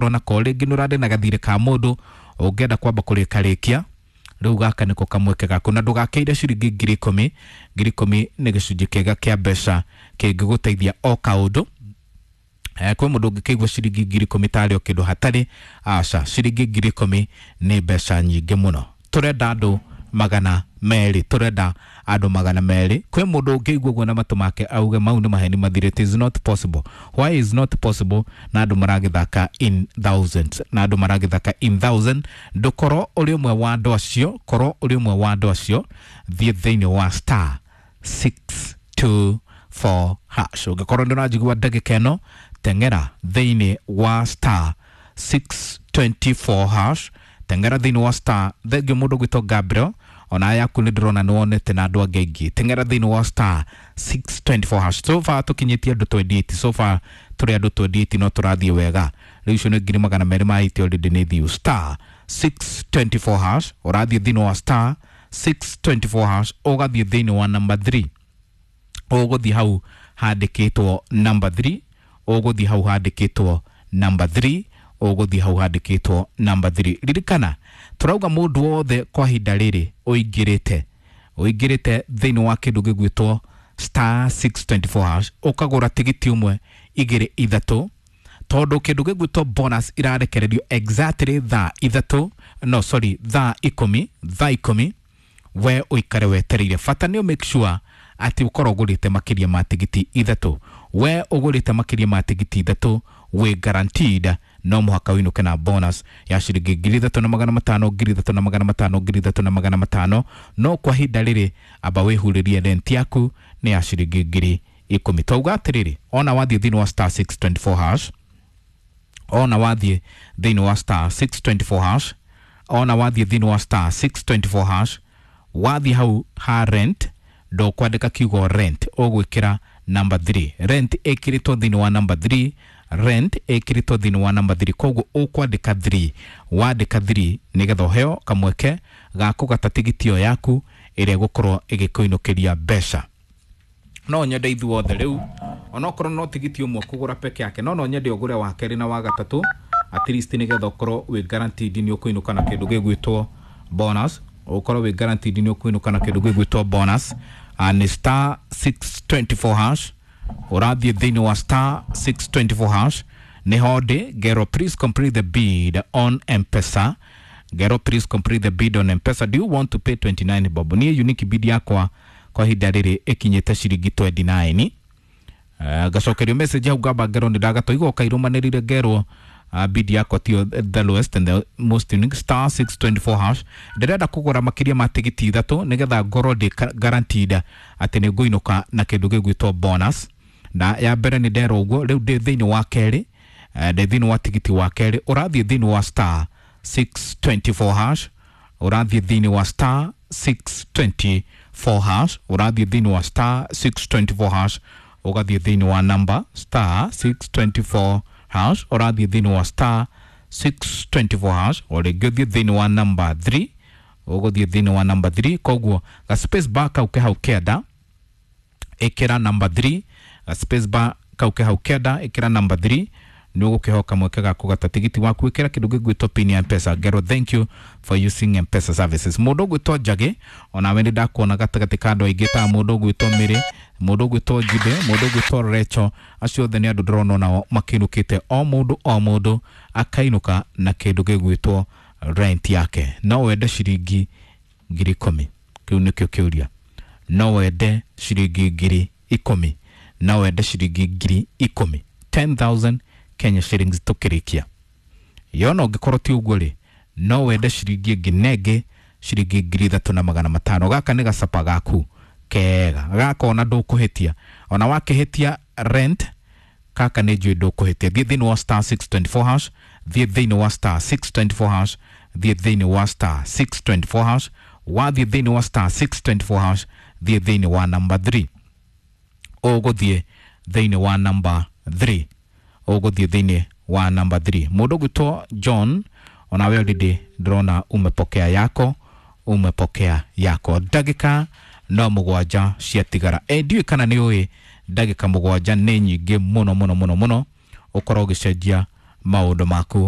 Nako rĩngĩ nĩ ũrarĩ na gathirĩ ka mũndũ ũngĩenda kwamba kũrĩkarĩkia rĩu, gaka nĩko kamweke gaku, na ndũgakĩire ciringi 10,000. 10,000 nĩ gĩcunjĩ kĩega kĩa mbeca kĩngĩgũteithia o kaũndũ. Kwĩ mũndũ ũngĩkĩigua ciringi 10,000 tarĩ o kĩndũ hatarĩ. Aca, ciringi 10,000 nĩ mbeca nyingĩ mũno. Tũrenda andũ 200, tũrenda andũ 200. Kwĩ mũndũ ũngĩigua ũguo na matũ make auge mau nĩ maheni mathire? It is not possible. Why is not possible na andũ maragĩthaka in thousands, na andũ maragĩthaka in thousand? Ndũkorwo ũrĩ ũmwe wa andũ acio, korwo ũrĩ ũmwe wa andũ acio. Thiĩ thĩinĩ wa star 624 hash. Ũngĩkorwo nĩ ũranjigua ndagĩka ĩno, teng'era thĩinĩ wa star 624 hash, teng'era thĩinĩ wa star. Thengio mũndũ gwĩtwo Gabriel, ona yaku nĩ ndĩrona nĩ wonete na andũ angĩ aingĩ. Teng'era thĩinĩ wa star 624 hash. So far tũkinyĩtie andũ 28, so far tũrĩ andũ 28, no tũrathiĩ wega. Rĩu icio nĩ 280,000 already nĩ thiũ. Star 624 hash, ũrathiĩ thĩinĩ wa star 624 hash, ũgathiĩ thĩinĩ wa number 3, ũgũthiĩ hau handĩkĩtwo number 3, ũgũthiĩ hau handĩkĩtwo number 3, ũgũthiĩ hau handĩkĩtwo number 3. Ririkana tũrauga mũndũ wothe kwa ihinda rĩrĩ ũingĩrĩte thĩinĩ wa kĩndũ gĩgwĩtwo star 624 hash, ũkagũra tigiti ũmwe, igĩrĩ, ithatũ, tondũ kĩndũ gĩgwĩtwo bonus irarekererio exactly thaa 3, no sorry, thaa 10, thaa 10. We ũikare wetereire, bata nĩ make sure atĩ ũkorwo ũgũrĩte makĩria ma tigiti ithatũ. We ũgũrĩte makĩria ma tigiti ithatũ, wĩ guaranteed no mũhaka ũinũke na bonus ya ciringi 3,500, 3,500, 3,500. No kwa ihinda rĩrĩ amba wĩhurĩrie rent yaku nĩ ya ciringi 10,000. Twauga atĩrĩrĩ, ona wathiĩ thĩinĩ wa star 624 hash, ona wathiĩ thĩinĩ wa star 624 hash, ona wathiĩ thĩinĩ wa star 624 hash, wathiĩ hau ha rent, ndũkwandĩka kiugo rent, ũgwĩkĩra number 3. Rent ĩkĩrĩtwo thĩinĩ wa number 3, rent ĩkĩrĩtwo thĩinĩ wa number 3. Koguo ũkwandĩka 3, wandĩka 3 nĩgetha ũheo kamweke ga kũgata tigiti ĩyo yaku ĩrĩa ĩgũkorwo ĩgĩkũinũkĩria mbeca. No nyende ithuothe rĩu, onokorwo no tigiti ũmwe kũgũra peke yake, no nyende ũgũre wa kerĩ na wa gatatũ at least, nĩgetha ũkorwo wĩ guaranteed nĩ ũkũinũka na kĩndũ gĩgwĩtwo bonus, ũkorwo wĩ guaranteed nĩ ũkũinũka na kĩndũ gĩgwĩtwo bonus. Nĩ star 624 hash, ũrathiĩ thĩinĩ wa star 624 hash nĩho ndĩ. Ngero, please complete the bid on M-Pesa. Ngero, please complete the bid on M-Pesa. Do you want to pay 29 bob? Niĩ unique bid yakwa kwa ihinda rĩrĩ ĩkinyĩte ciringi 29. Ngacokerio message hau ngamba ngerwo nĩ ndagatwa igoka irũmanĩrĩire, ngerwo bid yakwa tio the lowest and the most unique. Star 624 hash, ndĩrenda kũgũra makĩria ma tigiti ithatũ nĩgetha ngorwo ndĩ guaranteed atĩ nĩ ngũinũka na kĩndũ gĩgwĩtwo bonus. Na ya mbere nĩ nderwo ũguo, rĩu ndĩ thĩinĩ wa kerĩ, ndĩ thĩinĩ wa tigiti wa kerĩ. Ũrathiĩ thĩinĩ wa star 624 hash, ũrathiĩ thĩinĩ wa star 624 hash, ũrathiĩ thĩinĩ wa star 624 hash, ũgathiĩ thĩinĩ wa number star 624 hash, ũrathiĩ thĩinĩ wa star 624 hash, o rĩngĩ ũthiĩ thĩinĩ wa number 3, ũgũthiĩ thĩinĩ wa number 3. Koguo ga space bar kau ke hau kenda, ĩkĩra number 3. Ga space bar kau ke hau kenda, ĩkĩra number 3, nĩ ũgũkĩhoka mweke ga kũgata tigiti waku. Ĩkĩra kĩndũ gĩgwĩtwo pin ya M-Pesa. Ngero, thank you for using M-Pesa services. Mũndũ ũgwĩtwo Njagĩ, onawe nĩ ndakuona gatagatĩ ka andũ aingĩ, ta mũndũ ũgwĩtwo Mĩrĩ, mũndũ ũgwĩtwo Njibe, mũndũ ũgwĩtwo Recho, acio othe nĩ andũ ndĩrona onao makĩinũkĩte, o mũndũ o mũndũ akainũka na kĩndũ gĩgwĩtwo rent yake. No wende ciringi 10,000? Kĩu nĩkĩo kĩũria. No wende ciringi 10,000? No wende ciringi 10,000, 10,000 Kenya shillings tũkĩrĩkia yona? Ũngĩkorwo ti ũguo rĩ, no wende ciringi ĩngĩ nenge ciringi 3,500? Gaka nĩ gacapa gaku kega gaka, ona ndũkũhĩtia, ona wakĩhĩtia rent kaka nĩ njũĩ ndũkũhĩtia. Thiĩ thĩinĩ wa star 624 hash, thiĩ thĩinĩ wa star 624 hash, thiĩ thĩinĩ wa star 624 hash. Wathiĩ thĩinĩ wa star 624 hash, thiĩ thĩinĩ wa number 3, ũgũthiĩ thĩinĩ wa number 3, ũgũthiĩ thĩinĩ wa number 3. Mũndũ ũgwĩtwo John, onawe already ndĩrona umepokea yako, umepokea yako. Ndagĩka no 7 ciatigara. E, ndiũĩ kana nĩ ũĩ ndagĩka 7 nĩ nyingĩ mũno mũno mũno mũno ũkorwo ũgĩcenjia Maũndũ maku.